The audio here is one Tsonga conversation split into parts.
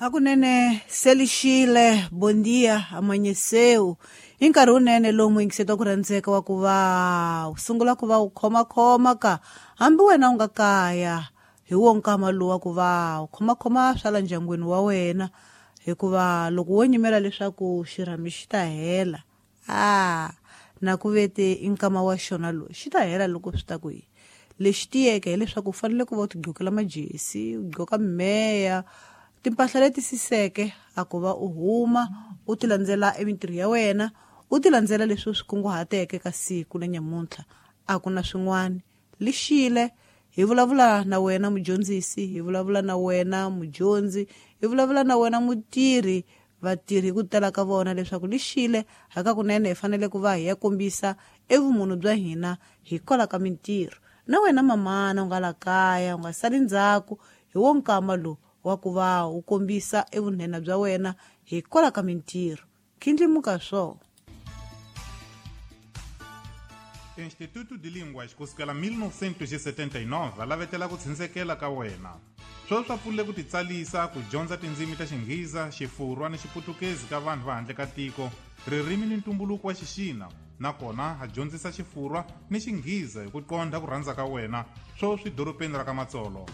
Hakunene selixile bondia amanyeseu i nkarhi wunene lowu muyingiseti wa ku rhandzeka wa ku va u sungula ku va u khomakhoma ka hambi wena u nga kaya hi wo nkama lowu wa ku va u khomakhoma swa la ndyangwini wa wena hikuva loko wo nyimela leswaku xirhami xi ta hela a na ku vete i nkama wa xona lowu xi ta hela loko swi ta ku yini. Lexi tiyeke hileswaku u fanele ku va u tigqokela majesi u gqoka mimeya timpahla leti siseke a ku va u huma u ti landzela emintirho ya wena u ti landzela leswi u swi kunguhateke ka siku na nyamuntlha. A ku na swin'wana lixile hi vulavula na wena mudyondzisi, hi vulavula na wena mudyondzi, hi vulavula na wena mutirhi, vatirhi hi ku tala ka vona leswaku lixile hakakunene hi fanele ku va hi ya kombisa evumunhu bya hina hikwalaho ka mintirho. Na wena mamana u nga la kaya u nga sali ndzhaku hi wo nkama lowu wa ku va u kombisa evunhena bya wena hikwalaho ka mintirho. Khindlimuka swona. Instituto de Línguas kusukela 1979 lavetela ku tshindzekela ka wena. Sweswi swa pfulile ku titsalisa ku dyondza tindzimi ta Xinghiza, Xifurwa ni Xiputukezi ka vanhu va handle ka tiko, ririmi ni ntumbuluko wa Xixina, nakona ha dyondzisa Xifurwa ni Xinghiza hi ku qondha ku rhandza ka wena, sweswi dorobeni ra ka Matsolo.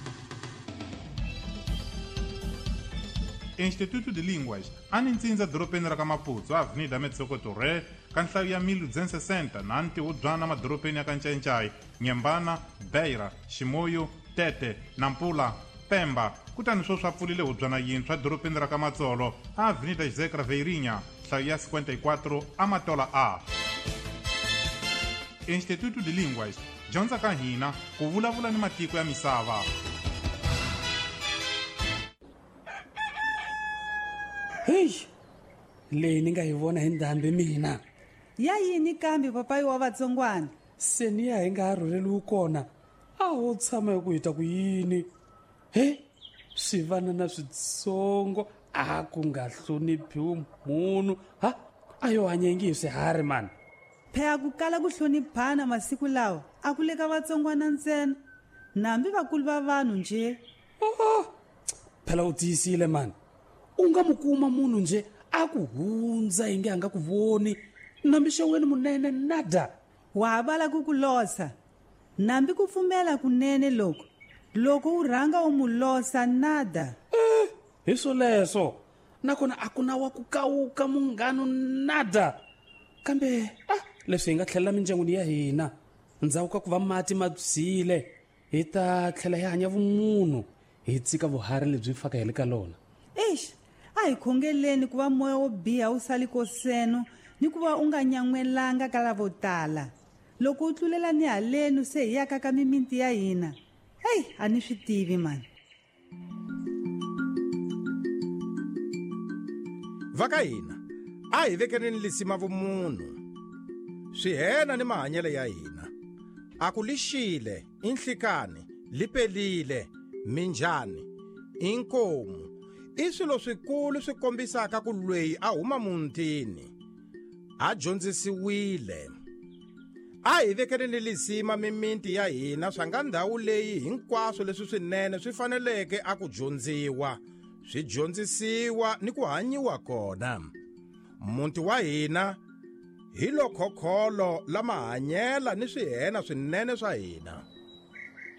Instituto de Línguas a ni ntsindza dorobeni ra ka Maputo, Avenida Metsoko Torre, ka nhlayo ya 1260 na ntihubyana madorobeni ya ka Ncayincai, Nyembana, Beira, Ximoyo, Tete, Nampula, Pemba. Kutani sweswi a pfulile hubyana yintshwa dorobeni ra ka Matsolo, Avenida José Craveirinha, nhlayo ya 54 Amatola A. Instituto de Línguas, dyondza ka hina ku vulavula ni matiko ya misava. Heyi, leyi ni nga yi vona hi ndhambi mina. Ya yini kambe papayi wa vatsongwana? Se ni ya hi nga ha rhurheliwi kona, a ho tshama hi ku hi ta ku yini? He, swivanana switsongo a ku nga hloniphiwi munhu. Ha, a yo hanya ingi hi swiharhi mani. Phela ku kala ku hloniphana masiku lawa a ku le ka vatsongwana ntsena, nambi vakulu va vanhu nje. Oh, phela u tiyisile mani. U nga mu kuma munhu nje a ku hundza inge a nga ku voni, nambi xeweni munene nada. Wa ha vala ku ku losa, nambi ku pfumela kunene loko loko u rhanga u mu losa nada. Hi swoleswo, nakona a ku na wa ku kawuka munghano nada. Kambe leswi hi nga tlhelela mindyangwini ya hina ndzhaku ka ku va mati ma byile, hi ta tlhela hi hanya vumunhu, hi tshika vuharhi lebyi faka hi le ka lona. Eish, a hi khongeleni ku va moya wo biha wu sali koseno ni ku va u nga nyan'welanga ka lavo tala. Loko u tlulela ni halenu se hi yaka ka mimiti ya hina. Hey, a ni swi tivi mani. Va ka hina a hi vekeleni lisima vumunhu, swihena ni mahanyelo ya hina. A ku lixile, i nhlikani, li pelile, minjhani, i nkomu. I swilo swikulu swi kombisaka ku lweyi a huma mutini a dyondzisiwile. A hi vekeleni lisima mimiti ya hina swa nga ndhawu leyi hinkwaswo leswi swinene swi faneleke a ku dyondziwa, swi dyondzisiwa ni ku hanyiwa kona. Muti wa hina hi lo khokholo la mahanyela ni swihena swinene swa hina.